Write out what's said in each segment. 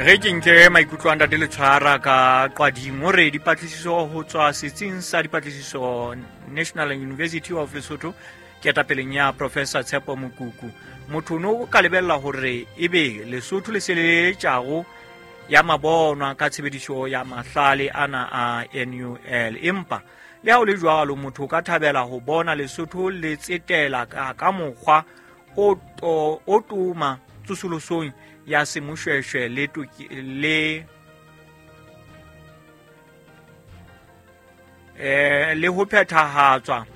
Re ke nke maikutlo a Ntate Letshwara ka Qwading. O re dipatlisiso ho tswa setsing sa dipatlisiso National University of Lesotho ketapeleng ya Professor Tshepo Mokuku. Motho no ka lebella hore ebe Lesotho le se le tjago ya mabonwa ka tshebediso ya mahlale ana a NUL. Empa le ha o le jwalo, motho o ka thabela ho bona Lesotho le tsetela ka mokgwa o toma tsosolosong ya semoshweshwe le le le ho phethahatswa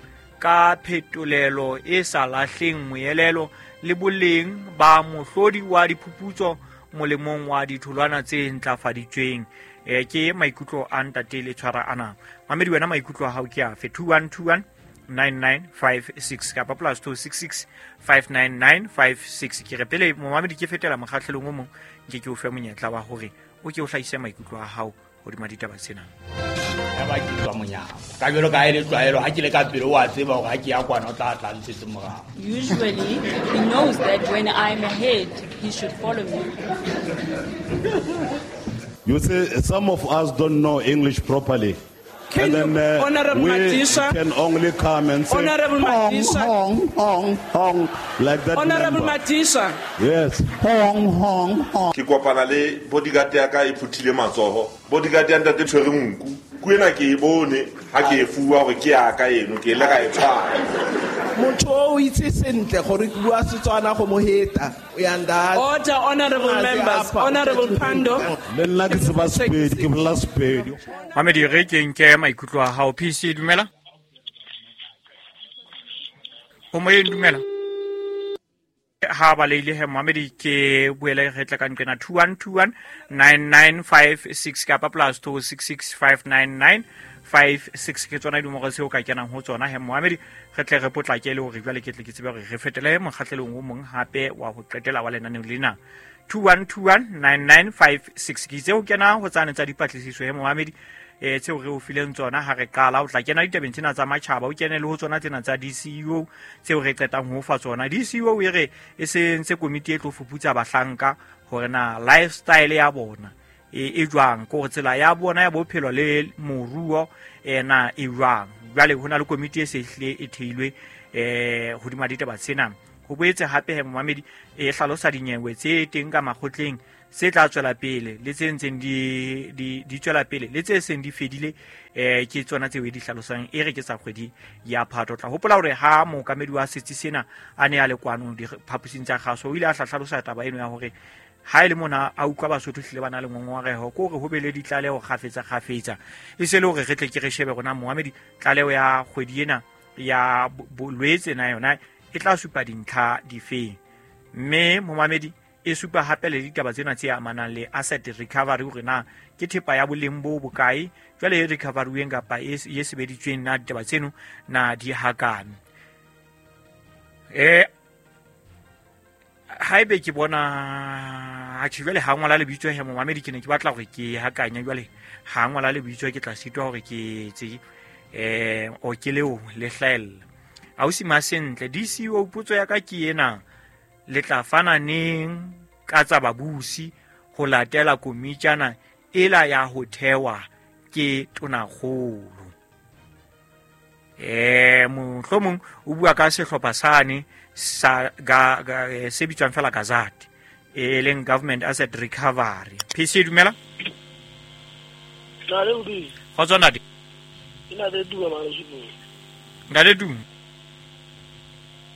ka phetolelo e sa lahleng moelelo le boleng ba mohlodi wa diphuputso molemong wa ditholwana tse ntlafaditsweng. Ke maikutlo a Ntate Letshwara ana. Mamedi, wena maikutlo a hao ke afe? 2121 9956 kapa plus 266 59956. Ke re pele momamedi ke fetela mokgahlelong o mong, nke ke o fe monyetla wa hore o ke o hlahise maikutlo a hao hodima ditaba tsena. Ya ba ke tswa monyako ka jwalo ka ha e le tlwaelo, ha ke le ka pele o a tseba hore ha ke ya kwana o tla tla ntshetse morao. Usually he knows that when I'm ahead he should follow me. You see, some of us don't know English properly. Can and then Honorable we Madisha, can only come and say, Honorable hong, Madisha. hong, hong, hong, like that. Honorable member. Madisha. Yes. Hong, hong, hong. Ke kopana le bodyguard ya ka e phuthile matsoho. Bodyguard ya ntate tshwere nku. Ku ena ke e bone ha ke e fuwa hore ke ya ka eno, ke ile ka e tshwara. Motho o itse sentle gore ke bua Setswana go mo heta. O ya nda. Order, honorable members. Honorable Pando. Le nna ke tseba Sepedi, ke bolela Sepedi. Mamedi, re ke nke maikutlo a hao. PC, dumela. O moyeng, dumela. Ha ba leile he Mohamedi, ke boele re tla ka nqena 2121 9956 kapa plus 266 599 56. Ke tsona dinomoro tseo ka kenang ho tsona he Mohamedi, re tle re potlake le hore jwale ke tle ke tsebe hore re fetele mokgahlelong o mong hape wa ho qetela wa lenaneo lena. 2121 9956. Ke itse ho kena ho tsane tsa dipatlisiso he Mohamedi, tseo re o fileng tsona ha re qala. O tla kena ditabeng tsena tsa matjhaba, o kene le ho tsona tsena tsa DCEO tseo re qetang ho fa tsona. DCEO e re e sentse komiti e tlo fuputsa bahlanka hore na lifestyle ya bona e jwang, ke hore tsela ya bona ya bophelo le moruo na e jwang. Jwale ho na le komiti e se hlile e theilwe hodima ditaba tsena. Ho boetse hape he momamedi e hlalosa dinyewe tse teng ka makgotleng tse tla tswela pele le tse ntseng di tswela pele le tse seng di fedile, ke tsona tseo e di hlalosang e re ke tsa kgwedi ya Phato. Tla hopola hore ha mookamedi wa setsi sena a ne a le kwano diphaposing tsa kgaso, o ile a hlalosa taba eno ya hore ha e le mona a utlwa Basotho hlile ba na le ngongoreho, ke hore ho be le ditlaleho kgafetsa kgafetsa, e se le hore re tle ke re shebe rona moamedi tlaleho ya kgwedi ena ya bolwetse na yona e tla supa dintlha difeng. Mme momamedi e supa hape le ditaba tsena tse amanang le asset recovery, hore na ke thepa ya boleng bo bokae jwale e recovery-weng kapa e sebeditsweng, na ditaba tseno na di hakane. Haebe ke bona atjhe jwale ha ngola lebitso he momamedi, ke ne ke batla hore ke hakanya jwale ha ngola lebitso ke tla sitwa hore ke etse o ke leo le hlahella. Ausi Masentle, DCEO potso ya ka ke ena, le tla fana neng ka tsa babusi ho latela komitjana ela ya ho thewa ke tonakgolo? Mohlomong o bua ka sehlopha sane sa se bitswang fela Gazette, e leng Government Asset Recovery. PC, dumela. Kgotso ntate. Ke na le Duma Mangwe. Ntate Duma.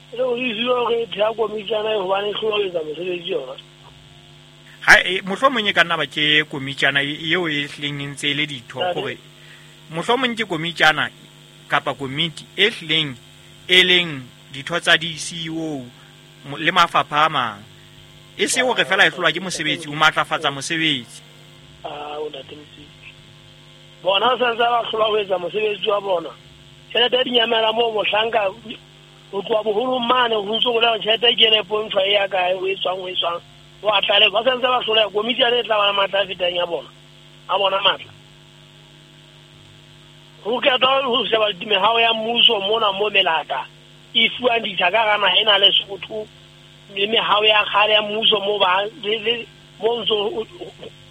Le o itse hore thea komitjana e hobane e hloletsa mosebetsi yona. Ha mohlomong e ka nna ba ke komitjana eo e hlileng e ntse e le ditho, hore mohlomong ke komitjana kapa komiti e hlileng e leng ditho tsa DCEO le mafapha a mang, e se hore fela e hlolwa ke mosebetsi, o matlafatsa mosebetsi. O ntate Motsepe. Bona sa ntse ba hlolwa ho etsa mosebetsi wa bona. Tjhelete ya dinyamela moo mohlanka o tloha boholong mane ho ntso ho le tjhelete e kene pontshwa e ya kae, o e tswang, o e tswang. O a tlale, ba santse ba hloleha. Komiti yane e tla ba le matla a fetang ya bona, a bona matla. Ho qeta ho sheba mehao ya mmuso mona mo melata e fuwang ditsha ka hara naha ena le Lesotho, le mehao ya kgale ya mmuso mo ba le Mo ntso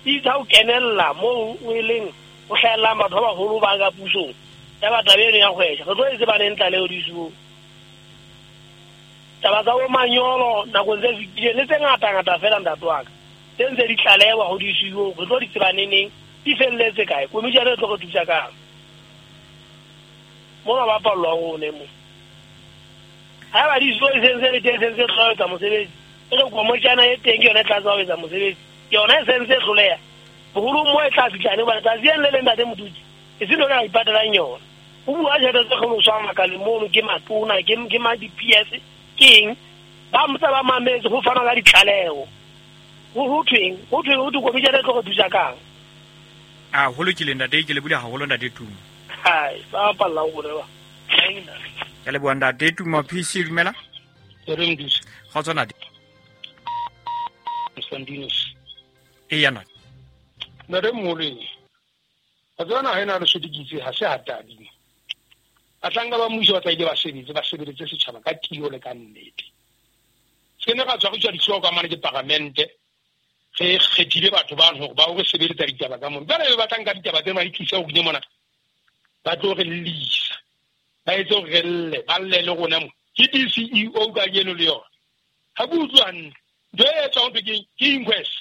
itse ha o kenella mo o eleng o hlahellang batho ba baholo ba ka pusong. Ya ba taba eno ya kgwesha. Re tlo e tseba neng tlaleho DCO. Taba tsa bo manyolo nakong tse fetileng le tse ngata-ngata fela ntate wa ka. Tse ntse di tlalewa ho DCO, re tlo di tseba neneng, di felletse kae? Komishene e tlo re thusa kang? Mona ba pallwa ho ne mo. Ha ba DCO e sentse le teng, sentse tlo etsa mosebetsi. E re komishene e teng ke yona e tla tswa ho etsa mosebetsi. Ke yona e sentse e hloleha. Boholo mo e tla fihla ne hobane tsatsi le leng ntate Modutsi, e se lona a ipatelang yona. O bua tjhelete tse kgoloswang makaleng mono ke matona, ke ma di-PS, ke eng? Ba ntse ba mametse ho fana ka ditlaleho. Ho thweng? Ho thweng ho thwe komishene e tlo re thusa kang? A ho lokile ntate, ke lebohile haholo ntate Tumo. Hai, ba palla ho reba. Ke leboha ntate Tumo. PC dumela. Re Mdusi. Kgotso ntate. Constantinus. Eya ntate. Ntate Moleng. Wa tseba naha ena ya Lesotho ke itse ha se ha tadimo. Bahlanka ba mmuso ba tla ile ba sebetse, ba sebeletse setjhaba ka tiyo le ka nnete. Se ne ra tshwariswa dihlooho ka mane ke paramente, re kgethile batho bano hore ba o re sebeletsa ditaba ka mono. Jwale be ba tla nka ditaba tsena ba di tlisa ho rona mona, ba tlo re llisa, ba etse hore re lle, ba lle le rona mo. Ke DCEO kajeno le yona. Ha ke utlwe hantle. Ntho e etswang ho thwe ke inquest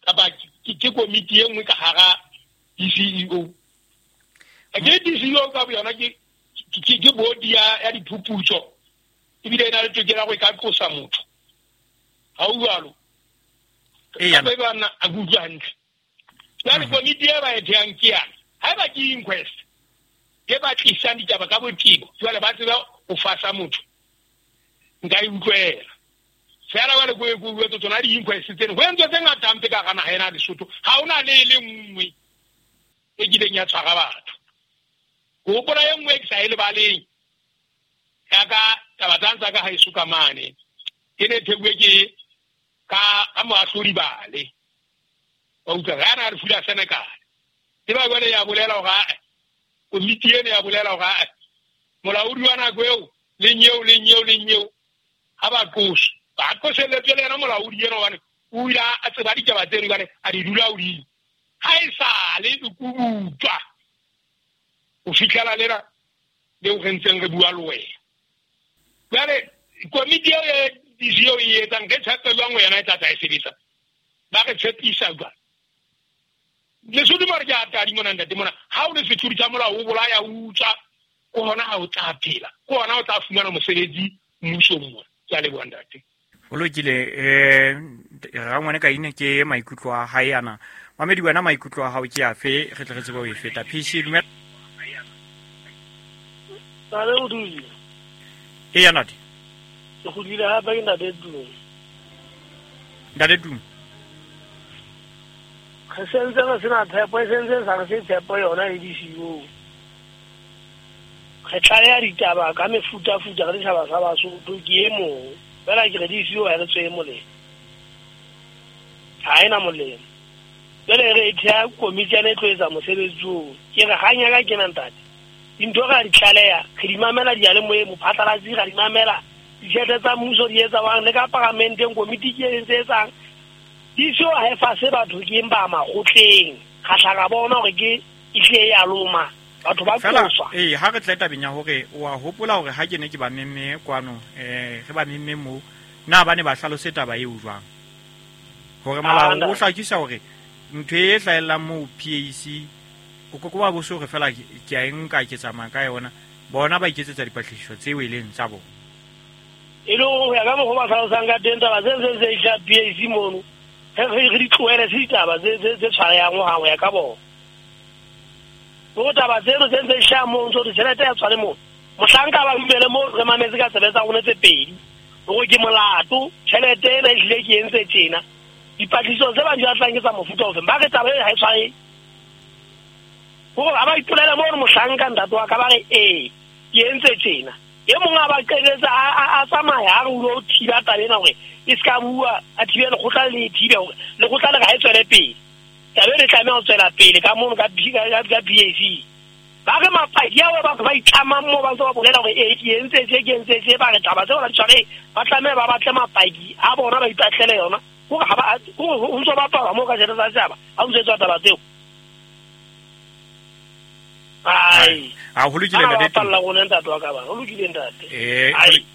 kapa ke komiti e nngwe ka hara DCEO. Ke DCEO ka boyona ke body ya diphuputso, ebile e na le tokelo ya hore e ka qosa motho. Ha o jwalo? Kapa e ba nna a ke utlwe hantle. Jwale komiti e ba e thehang ke yana. Haeba ke inquest e ba tlisang ditaba ka botebo, jwale ba tseba ho fasa motho, nka e utlwela. Feela jwale ko e ko utlwetse tsona di-inquest tseno, ho entswe tse ngata hampe ka hara naha ena ya Lesotho. Ha hona le e le nngwe e kileng ya tshwara batho. Ke hopola e nngwe e ke sa e lebaleng, ya ka taba tsa ntsa ka haeso ka mane, e ne theuwe ke ka moahlodi Bale. Wa utlwa, re ana re fula Senegal. E ba jwale ya bolela hore ae, komiti ena ya bolela hore ae, molaodi wa nako eo, le nyeo, le nyeo, le nyeo, ha ba qoswe. Ba qoselletswe le yena molaodi ena hobane o ile a tseba ditaba tseno jwale a di dula hodimo. Ha e sale e kubutswa ho fihlela lena leo re ntseng re bua le wena. Jwale komiti eo ya DCEO e etsang, re tshepe jwang ho yena e tla tla e sebetsa? Ba re tshepisa jwang? Lesotho mare ke a tadi mona ntate mona. Ha o le sethodi sa molao, o bolaya, o utswa, ke hona ha o tla phela, ke hona o tla fumana mosebetsi mmusong mona. Ke a leboha ntate. Ho lokile, rangwane ka ine ke maikutlo a hae ana. Mamedi wena maikutlo a hao ke afe, re tle re tsebe ho e feta. PC dumela. Ntate Modudi. Eya ntate. Ke kgutlile hape ke ntate Tumo. Ntate Tumo. Re sentse re sena tshepo, e sentse sa re se tshepo yona le DCEO. Re tlaleha ditaba ka mefutafuta ka setjhaba sa Basotho, ke e mong. Feela ke re DCEO ha e re tswe molemo. Ha e na molemo. Jwale re e theha komiti yana e tlo etsa mosebetsi oo. Ke re hang ya ka kena ntate. Dintho re a di tlaleha, re di mamela diyalemoyeng, mophatlalatsi re a di mamela. Ditjhelete tsa mmuso di etsa jwang, le ka paramenteng komiti ke e ntse etsang. DCEO ha e fase batho ke eng ba makgotleng. Ra hla ra bona hore ke ehlile e a loma. Batho ba qoswa. Ha re tle tabeng ya hore o a hopola hore ha ke ne ke ba memme kwano, re ba memme moo, na ba ne ba hlalose taba eo jwang? Hore molao o hlakisa hore ntho e hlahellang moo PAC, o ke wa bo se hore feela ke a e nka ke tsamaya ka yona, bona ba iketsetsa dipatlisiso tseo e leng tsa bona. E le hore ho ya ka mokgwa o ba hlalosang ka teng, taba tse ntse tse hlaha PAC mono, re di tlohele, se ditaba tse tshwarehang ho hang ho ya ka bona. Hore taba tseno tse ntse hlaha moo, ntso tjhelete ya tshware moo. Mohlanka ba dumele moo re mametse ka tsebe tsa rona tse pedi. Hore ke molato, tjhelete ena ehlile ke entse tjena. Dipatlisiso tse ba di batlang ke tsa mofuta ofeng. Ba re taba e ha e tshware. Hore ha ba ipolela moo mohlanka ntate wa ka ba re ee, ke entse tjena. E mong a ba qetetse a tsamaya a re o lo thiba taba ena hore e ska bua, a thibe lekgotla le thibe hore lekgotla le ha e tswele pele. Taba ena e tlameha ho tswela pele ka mono ka PAC. Ba re mapaki ao batho ba itlamang moo ba ntse ba bolela hore ee ke entse tje, ke entse tje, ba re taba tseo ba di tshware, ba tlameha ba batle mapaki a bona ba ipatlele yona. Hore ha ba, hore ho ntso bapala mo ka tjhelete tsa setjhaba ha o ntse tswa taba tseo. Ai a ho lokile ntate. Bapalla rona ntate wa ka ba. Ho lokile ntate.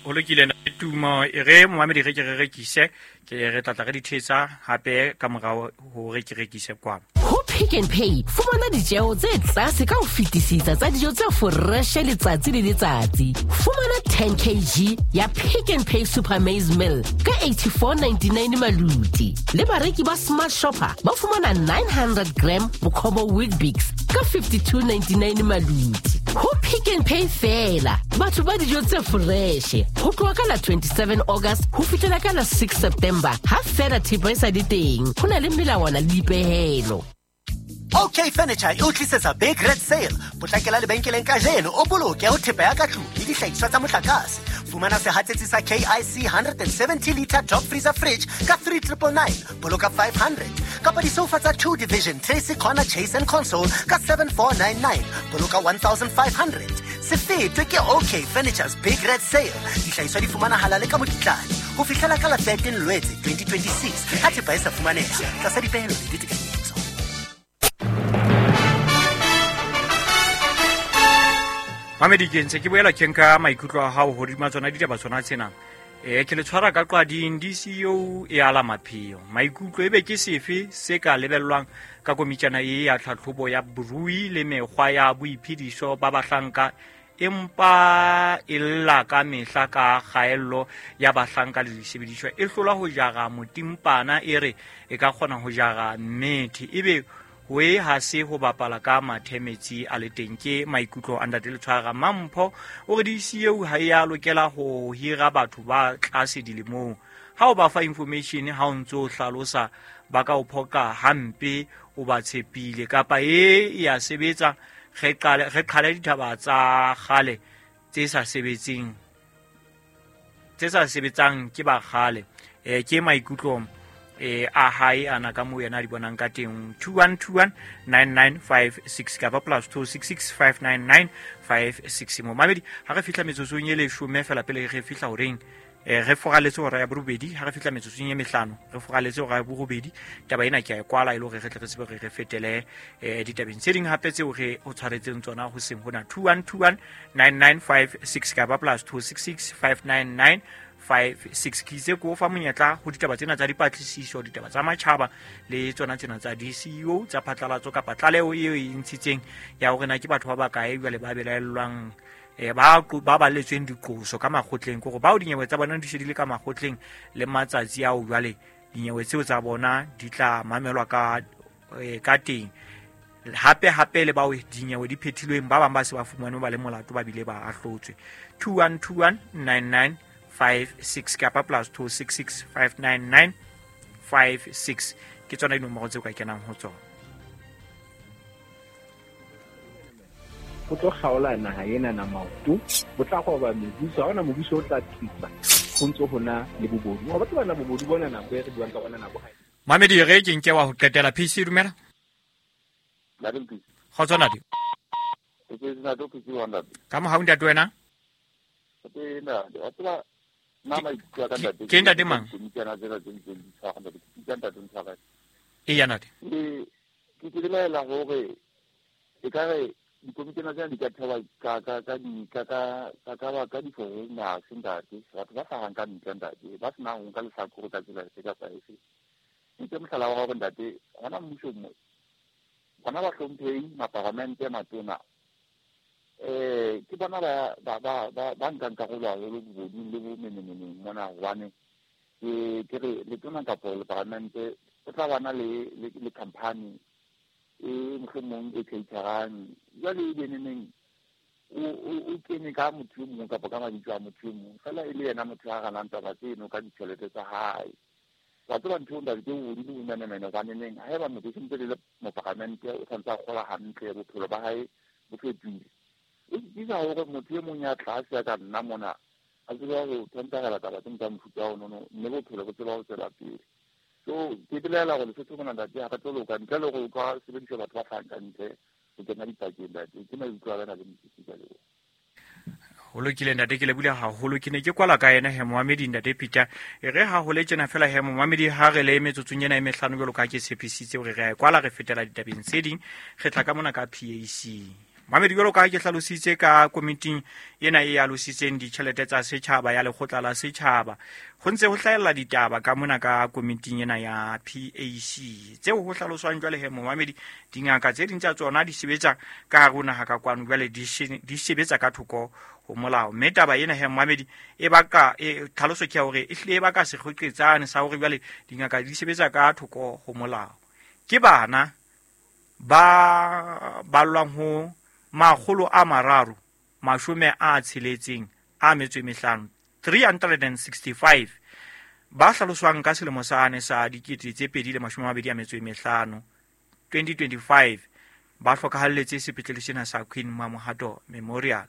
Ho lokile ntate Tumo. E re momamedi re ke re rekise, ke re tlatla re dithetsa hape ka morao hore ke rekise kwano. Ho Pick n Pay fumana ditjeho tse tlase ka ho fetisisa tsa dijo tse fresh letsatsi le letsatsi. Fumana 10 kg ya Pick n Pay Super Maize Meal ka 84.99 maluti. Le bareki ba Smart Shopper ba fumana 900 gram Bokhobo Weet-Bix ka 52.99 maluti. Ho Pick n Pay fela batho ba dijo tse fresh ho tloha ka la 27 August ho fihlela ka la 6 September ha fela thepa e sa le teng. Ho na le melawana le dipehelo. OK Furniture e o tlisetsa Big Red Sale. Potlakela lebenkeleng kajeno o boloke ho thepa ya ka tlung le dihlahiswa tsa motlakase. Fumana sehatsetsi sa KIC 170 liter top freezer fridge ka 3999, boloka 500. Kapa disofa tsa 2 division Tracy Corner Chase and Console ka 7499, boloka 1500. Se fetwe ke OK Furniture's Big Red Sale. Dihlahiswa di fumanahala le ka mokitlane ho fihlela ka la 13 Lwetse 2026. Ha thepa e sa fumaneha tlasa dipehelo le ditekanyetso. Mamedi ke ntse ke boela ke nka maikutlo a hao hodima tsona ditaba tsona tsena. Ke le tshwara ka qwading DCO e ala mapheo. Maikutlo ebe ke sefe se ka lebellwang ka komitjana e ya tlhatlhobo ya borui le mekgwa ya boiphediso ba bahlanka empa e lla ka mehla ka kgaello ya bahlanka le disebediswa e hlola ho jara motimpana e re e ka kgona ho jara mmethe ebe we ha se ho bapala ka mathemetsi a le teng. Ke maikutlo a ntate Letshwara Mampho o re DCU ha ya lokela ho hira batho ba tlase dilemong. Ha o ba fa information ha o ntso hlalosa ba ka o phoka hampe o ba tshepile kapa e ya sebetsa re qale ditaba tsa kgale tse sa sebetseng ke ba kgale. Ke maikutlo a hae ana ka mo yena di bonang ka teng. 21219956 kapa +26659956 mo mamedi ha re fihla metsotsong e leshome fela pele re fihla horeng re foraletse hora ya borobedi. Ha re fihla metsotsong e mehlano re foraletse hora ya borobedi. Taba ena ke a e kwala e le hore re tle re tsebe re fetele ditabeng tse ding hape tseo re o tshwaretseng tsona ho seng hona. 21219956 kapa +266599 56. Ke itse ko fa monyetla ho ditaba tsena tsa dipatlisiso, ditaba tsa matjhaba le tsona tsena tsa DCO tsa phatlalatso kapa tlaleho eo e ntshitseng ya hore na ke batho ba bakae jwale ba belaellwang ba balletsweng diqoso ka makgotleng, kore bao dinyewe tsa bona di se di le ka makgotleng le matsatsi ao jwale dinyewe tseo tsa bona di tla mamelwa ka teng. Hape hape le bao dinyewe di phethilweng ba bang ba se ba fumanwe ba le molato ba bile ba ahlotswe. 21219956 kapa +26659956 ke tsona dinomoro tseo ka kenang ho tsona. Ho tlo kgaola naha ena na maoto, bo tla roba mebuso, ha hona mobuso o tla thusa ho ntso hona le bobodu. Wa batho bana bobodu bona nako e re buang ka bona nako ha. Mamedi re ke nke wa ho qetela PC dumela. Kgotso ntate. Ka mohau ntate wena. Ke ntate mang? E ya ntate. Ke belaela hore e ka re dikomitjana tsena di ka thewa ka di-foreigners ntate, batho ba hlahang ka ntle ntate, ba senang ho nka lehlakore ka tsela efe kapa efe. Nke mohlala wa hore ntate hona mmusong mo bona bahlomphehi maparamente matona ke bona ba nkang karolo haholo bobodung le bomenemeneng mona, hobane ke re letona kapo leparamente o tla bana le company e mohlomong e caterang jwale e beneneng o kene ka motho e mong kapa ka mabitso a motho e mong fela e le yena motho a ganang taba tseno ka ditjhelete tsa hae. Wa tseba ntho eo ntate ke bobodu le bomenemene hobaneneng haeba motho e sentse le moparamente o tshwanetse a kgola hantle bophelo ba hae bo fetohile. E sitisa hore motho e mong ya tlase ya ka nna mona a tsebe ho thentagela taba tseno tsa mofuta ono mme bophelo bo tseba ho tswela pele. So ke belaela hore Lesotho mona ntate ha re tlo loka ntle le hore o ka sebedisa batho ba hlahang ka ntle ho kena dipakeng ntate. Ke maikutlo a ka na le mosisi ka leboha. Ho lokile ntate, ke lebule haholo. Ke ne ke kwala ka yena he momamedi ntate Peter. E re ha ho le tjena fela he momamedi, ha re le metsotsong ena e mehlano jwalo ka ha ke tshepisitse hore re a e kwala, re fetela ditabeng tse ding, re tla ka mona ka PAC. Mamedi, jwalo ka ha ke hlalositse ka komiting ena e alositseng ditjhelete tsa setjhaba ya lekgotla la setjhaba, ho ntse ho hlahella ditaba ka mona ka komiting ena ya PAC tseo ho hlaloswang jwale he momamedi, dingaka tse ding tsa tsona di sebetsa ka hare ho naha ka kwano, jwale di sebetsa ka thoko ho molao. Mme taba ena he momamedi e baka tlhaloso ke ya hore e hlile e baka sekgoqetsane sa hore jwale dingaka di sebetsa ka thoko ho molao. Ke bana ba ballwang ho 365, 365 ba hlaloswang ka selemo sane sa 2025, 2025 ba hlokahalletse sepetlele sena sa Queen Mamohato Memorial.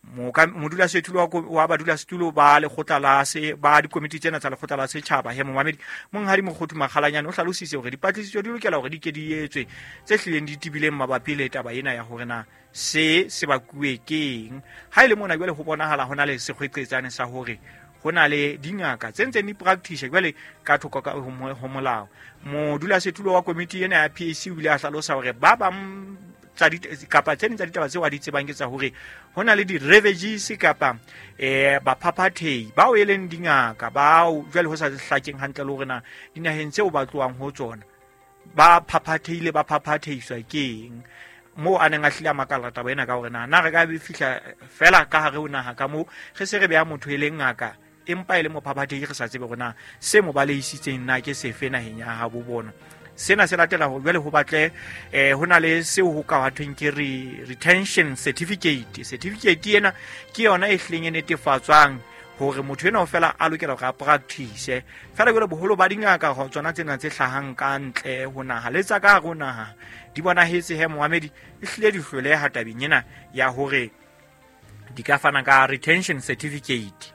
Modulasetulo wa badulasetulo ba lekgotla la se ba dikomiti tsena tsa lekgotla la setjhaba he momamedi monghadi Mokgothu Makgalanyane o hlalositse hore dipatlisiso di lokela hore di ke di etswe tse hlileng di tebileng mabapi le taba ena ya hore na se se bakuwe keng. Ha e le mona jwale ho bonahala ho na le sekgweqetsane sa hore ho na le dingaka tse ntseng di practice jwale ka thoko ka ho molao. Modulasetulo wa komiti ena ya PAC o ile a hlalosa hore ba bang kapa tse ding tsa ditaba tseo a di tsebang ke tsa hore ho na le di-refugees kapa baphaphathehi bao e leng dingaka bao jwale ho sa hlakeng hantle le hore na dinaheng tseo ba tlohang ho tsona ba phaphathehile, ba phaphathehiswa keng. Moo a neng a hlile a makalla taba ena ka hore na re ka fihla fela ka hare ho naha ka moo re se re beha motho e leng ngaka empa e le mophaphathehi, re sa tsebe hore na se mo balehisitseng na ke sefe naheng ya habo bona. Sena se latela hore jwale ho batle ho na le seo ho ka thweng ke retention certificate. Certificate ena ke yona e hlileng e netefatswang hore motho ena o fela a lokela hore a practice. Fela jwale boholo ba dingaka ho tsona tsena tse hlahang ka ntle ho naha le tsa ka hare ho naha di bonahetse he momamedi e hlile di hloleha tabeng ena ya hore di ka fana ka retention certificate.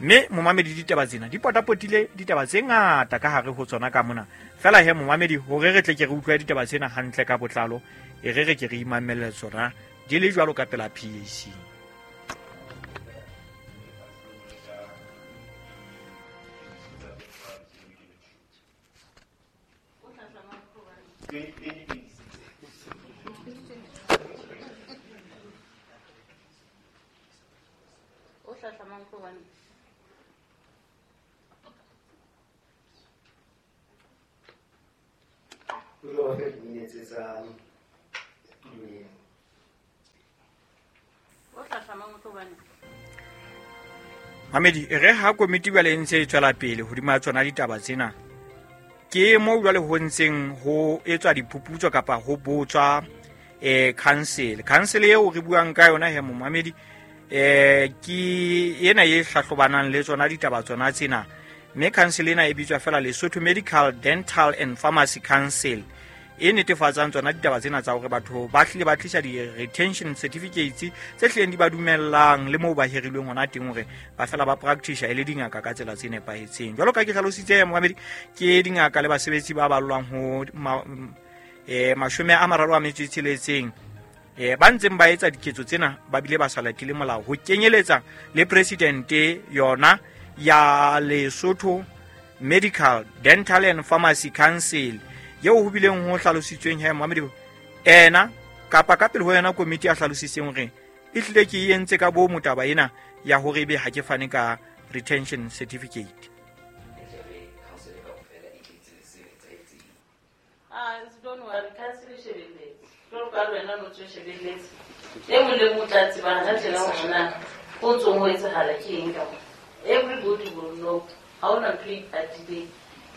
Mme momamedi ditaba tsena di potapotile ditaba tse ngata ka hare ho tsona ka mona. Fela he momamedi hore re tle ke re utlwe ditaba tsena hantle ka botlalo, e re re ke re imamelle tsona di le jwalo ka pela PAC. Mamedi, re ha komiti jwale e ntse e tswela pele hodima tsona ditaba tsena, ke moo jwale ho ntseng ho etswa diphuputso kapa ho botswa council. Council eo re buang ka yona he momamedi ke ena e hlahlobanang le tsona ditaba tsona tsena. Mme council ena e bitswa fela Lesotho Medical, Dental and Pharmacy Council, e netefatsang tsona ditaba tsena tsa hore batho ba hlile ba tlisa di-retention certificates tse hlileng di ba dumellang le moo ba hirilweng hona teng hore ba fela ba practice e le dingaka ka tsela tse nepahetseng. Jwalo ka ke hlalositse momamedi, ke dingaka le basebetsi ba ballwang ho 36 ba ntseng ba etsa diketso tsena ba bile ba sa latele molao, ho kenyeletsa le presidente yona ya Lesotho Medical, Dental and Pharmacy Council eo ho bileng ho hlalositsweng he momamedi ena kapa ka pele ho yona komiti ya hlalositseng hore e hlile ke e entse ka bomo taba ena ya hore ebe ha ke fane ka retention certificate. Don't worry, council e shebelletse. Jwalo ka wena o ntso shebelletse. E mong le mong o tla tseba hana tjena hore na ho ntsong ho etsahala ke eng ka mona. Everybody will know ha hona ntho e ipatileng.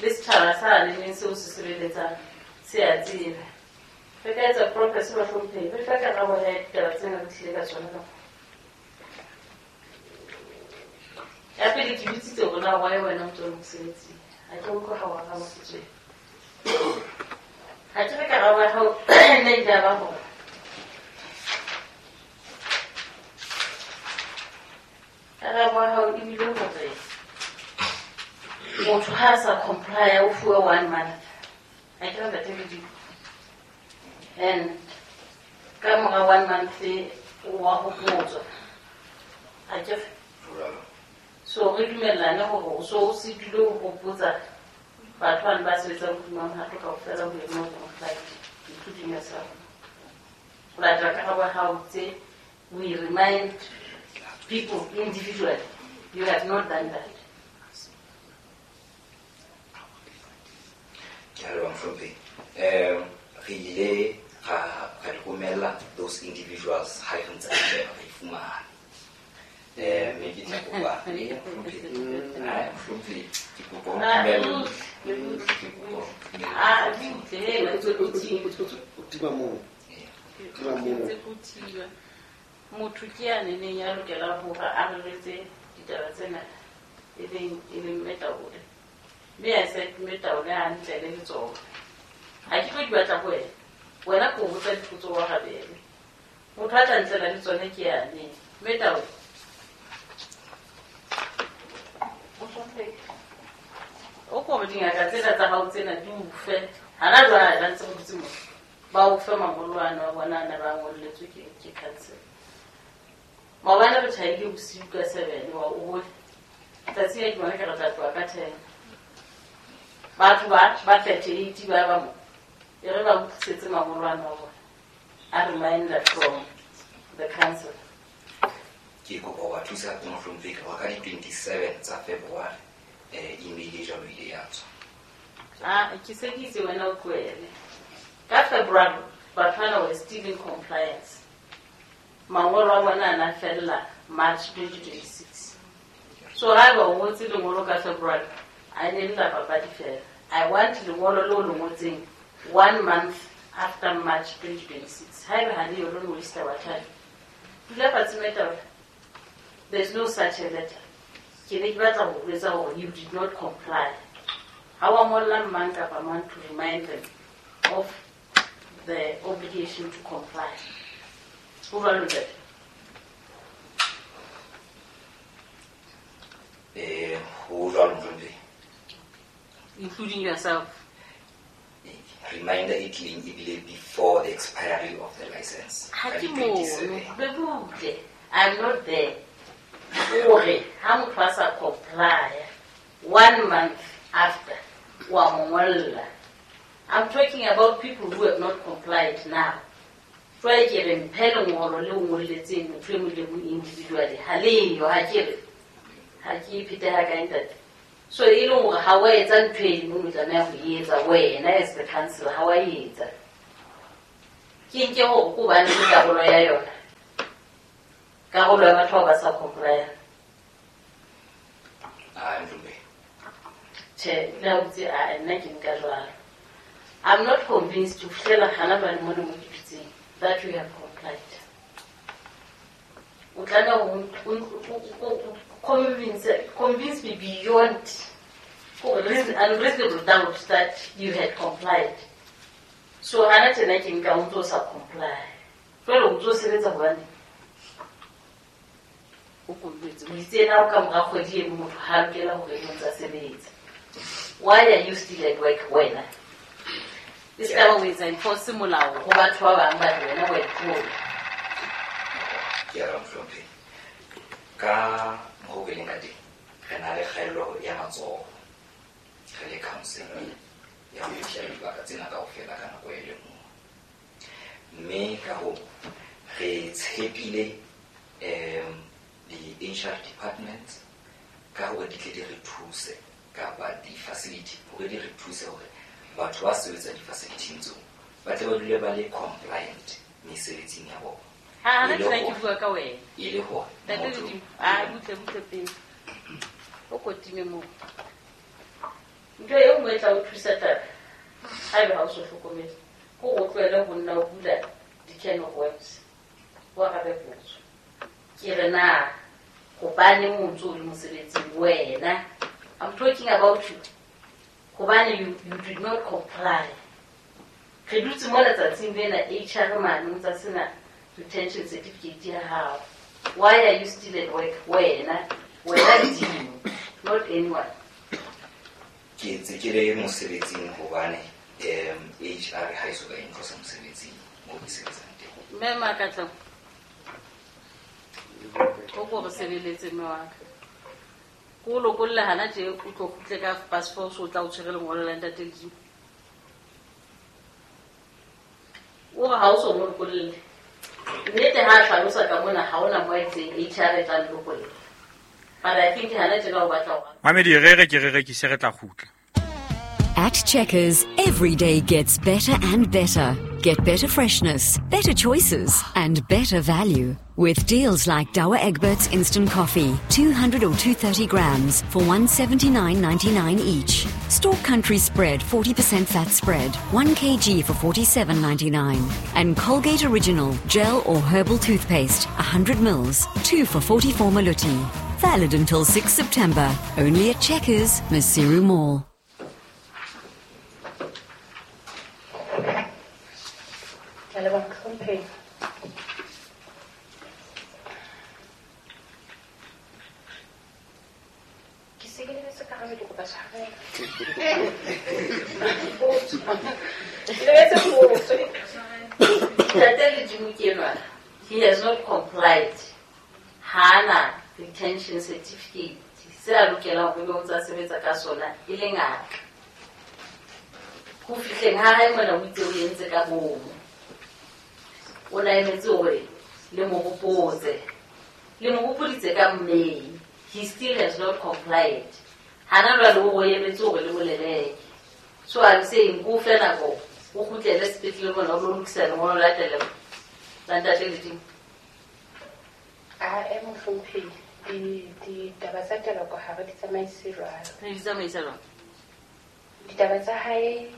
Le setjhaba sa leng seo se sebeletsang se a tseba. Re ka etsa professor bahlomphehi, re fa karabo ya ditaba tsena re tlile ka tsona ka mona. Ya pele ke bitsitse hore na why wena o ntso le mosebetsing. Ha ke utlwe ha o araba setsweng. Ha ke re karabo ya hao nne e tla ba hore karabo ya hao ebile hore motho ha a sa comply o fuwe 1 month. Ha ke re ntate Modimo. And ka mora 1 month o wa hopotswa. Akere so re dumellane hore o so o se dule o hopotsa batho bane ba sebetsang hodima mohato kaofela ho ema complied, including yourself. Ho latela karabo ya hao tse we remind people individually. You have not done that. Ke a leboha mohlomphehi. Re ile ra di romella those individuals ha re ntse re sheba re fumana. Mme ke tla kopa mohlomphehi, ke kopa o ntumelle. Ke kopa. Ah, butle, tima moo. Tima moo. Ntse ko thiba. Motho ke ya neneng ya lokelang hore a reretse ditaba tsena e leng Mme Taole. Mme a se Mme Taole hantle le letsoho. Ha ke tlo di batla ho wena. Wena ko botsa dipotso wa rabele. Motho a tla ntlela le tsone ke yane. Mme Taole. O ko dingaka tsena tsa hao tsena di o fe. Hana jwale ba ntse go dutse mo. Ba o fe mangolo ano a bona ana ba ngolletswe ke council. Maobane re tjhaile bosiu ka 7 wa o bone. Tsatsi le ke bona ke re tla tloha ka 10. Batho ba 38 ba mo. E re ba utlwisetse mangolo ano a bona. A reminder from the council. Ke kopa ho ba thusa mohlomphehi ka di 27 tsa February email e jwalo ile ya tswa. Ah, ke se ke itse wena o tlohele. Ka February batho bana were still in compliance. Mangolo a bona a na fella March 2026. So haeba o ngotse lengolo ka February, a ne le la papadi fela. I want lengolo leo le ngotseng 1 month after March 2026. Haeba ha le yo lo waste our time. Dula fatshe Mme Taole. There's no such a letter. Ke ne ke batla ho jwetsa hore you did not comply. Ha wa ngolla mang kapa mang to remind them of the obligation to comply. Ho jwalo ntate? Ho jwalo mohlomphehi. Including yourself. Reminder e tlileng ebile before the expiry of the license. Ha ke mono, be butle. I'm not there. Hore ha motho a sa comply 1 month after wa mo ngolla. I'm talking about people who have not complied now. Jwale ke re mphe lengolo le o ngolletseng motho e mong le mong individually. Ha leyo, ha ke re. Ha ke iphete ha kae ntate. So e leng hore ha wa etsa ntho e mong o tlameha ho e etsa wena as the council, ha wa e etsa. Ke nke hore ko bane le karolo ya yona. Karolo ya batho ba sa comply. Ah, ndume. Che, la utse a nna ke nka jwalo. I'm not convinced to fihlela hana jwale mona mo ke dutseng that you have complied. O tlameha ho convince me beyond unreasonable doubt that you had complied. So hana tjena ke nka o ntso sa comply. Jwale o ntso sebetsa hobane o kolletse. O itse na o ka mora kgwedi e motho ha lokela hore o ntsa sebetsa. Why are you still at work wena? E se ka ba o etsa enforce molao ho batho ba bang ba re wena wa itlola. Ke a mohlomphehi. Ka mokgwa o ke leng ka teng, re na le kgaello ya matsoho. Re le council ya ho fihlela dibaka tsena kaofela ka nako e le nngwe. Mme ka hoo re tshepile di-HR department ka hore di tle di re thuse kapa di-facility hore di re thuse hore batho ba sebetsang di-facility-ing tseo ba tle ba dule ba le compliant mesebetsing ya bona. Ha re tla ke bua ka wena. E le hore Ntate Ledimo, a butle butle pele. O kotime moo. Ntho e nngwe e tla o thusa taba haeba ha o so hlokomele ke hore o tlohele ho nna o bula di-can of worms. O arabe potso. Ke re na hobaneng o ntso o le mosebetsing wena? I'm talking about you. Hobane you did not comply. Re dutse mo letsatsing lena HR mane o ntsa sena retention certificate ya hao. Why are you still at work wena? Wena Ledimo, not anyone. Ke ntse ke le mosebetsing hobane HR ha e so ka e ntlosa mosebetsing moo ke sebetsang teng. Mme Makatla, O ko re sebeletse mme wa ka. Ko o lokolle hana tje o tlo kgutle ka passport o tla o tshwere lengolo la ntate Ledimo. O re ha o so mo lokolle. Nnete ha a hlalosa ka mona ha ona mo a itseng HR e tla lokolla. But I think hana tjena o batla ho Mamedi re re ke re rekise re tla kgutla. At Checkers, every day gets better and better. Get better freshness, better choices, and better value. With deals like Douwe Egberts Instant Coffee, 200 or 230 grams for 179.99 each. Stork Country Spread 40% fat spread, 1 kg for 47.99. And Colgate Original Gel or Herbal Toothpaste, 100 mils, 2 for 44 maluti. Valid until 6 September. Only at Checkers, Maseru Mall. Ke a leboha mohlomphehi. Ke se ke lebetse karabo, ke kopa tshwarelo. Ke lebetse potso. Ntate Ledimo ke enwa. He has not complied. Ha ana retention certificate se a lokelang ho be o ntsa sebetsa ka sona e le ngaka. Ho fihleng ha hae mona o itse o entse ka bomo. O na emetse hore le mo hopotse. Le mo hopoditse ka May. He still has not complied. Hana jwale o emetse hore le mo leleke. So I'm saying ko fe nako o kgutlele sepetlele mona o lo lokisa lengolo la tele la ntate Ledimo. A e mohlomphehi, ditaba tsa teloko ha re di tsamaise jwalo. Re di tsamaisa jwang? Ditaba tsa hae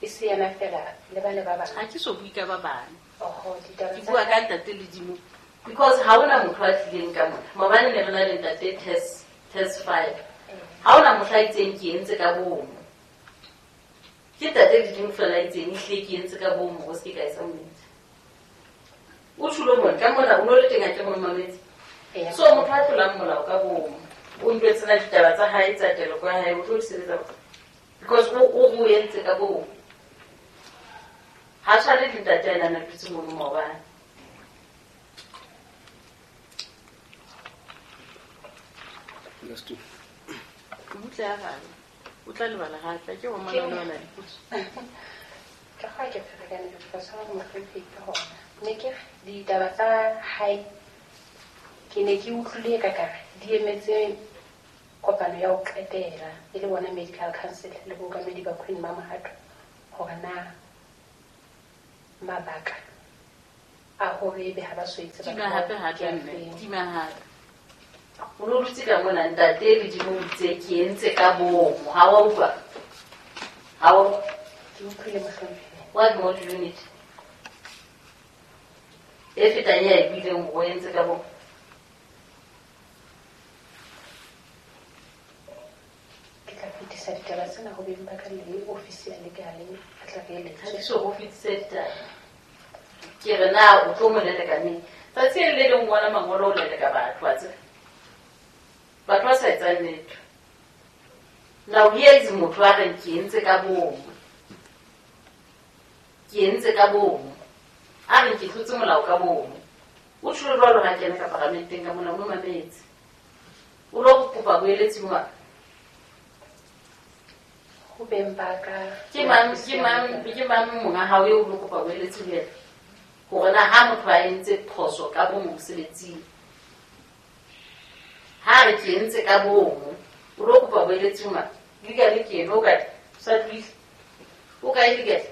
e se yena fela le ba le ba bang. Ha ke so bue ka ba bang. Oho, ditaba Ke tsa bua ka hae. ntate Ledimo because ha hona motho a tlileng ka mona. Maobane ne re na le ntate test 5. Ha hona mohla a itseng ke entse ka bomo. Ke ntate Ledimo fela a itseng ehlile ke entse ka bomo ho se ke ka etsa monnete. O tjhulo mona ka mona o no le teng ha ke mo mametse. So motho a tlolang molao ka bomo o ntwetse na ditaba tsa hae tsa teloko ya hae o tlo di sebetsa because o entse ka bomo. Ha tshwane le ntate a nang a dutse mono maobane. Butle a gare. O tla lebala gape ke go mona le ona dipotso. Ka ga ke ferekane ke kopa tshwarelo mohlomphehi ka hona. Ne ke re ditaba tsa hae ke ne ke utlwile ka kare di emetse kopano ya ho qetela e le bona medical council le bookamedi ba Queen Mamohato hore na mabaka a hore ebe ha ba so etse batho Tima bao hape hape ke a mme, feng. tima hape. O no dutse ka mona ntate Ledimo o itse ke entse ka bomo. Ha wa utlwa? Ha wa Ke utlwile mohlomphehi. What more do you need? E fetang ya e buileng hore o entse ka bomo. Ke tla fetisa ditaba tsena ho beng ba ka le ofisi ya legal a tla re eletse. Ha ke so ho fetise ditaba. Ke re na o tlo mo leleka neng? Tsatsi le leng ngola mangolo o leleka batho wa tseba. Batho ba sa etsang letho. Now here is motho a reng ke entse ka bomo. Ke entse ka bomo. A reng ke tlotse molao ka bomo. O tjholo jwalo ha kena ka paramenteng ka mona o mametse. O lo kopa boeletsi mo Ho beng ba ka Ke mang monga hao eo o lo kopa boeletsi ho yena? Hore na ha motho a entse phoso ka bomo mosebetsing. Ha re ke entse ka bomo, o lo kopa boeletsi ho mang? Legal ke eno o kae? O sa tlohile. O kae legal?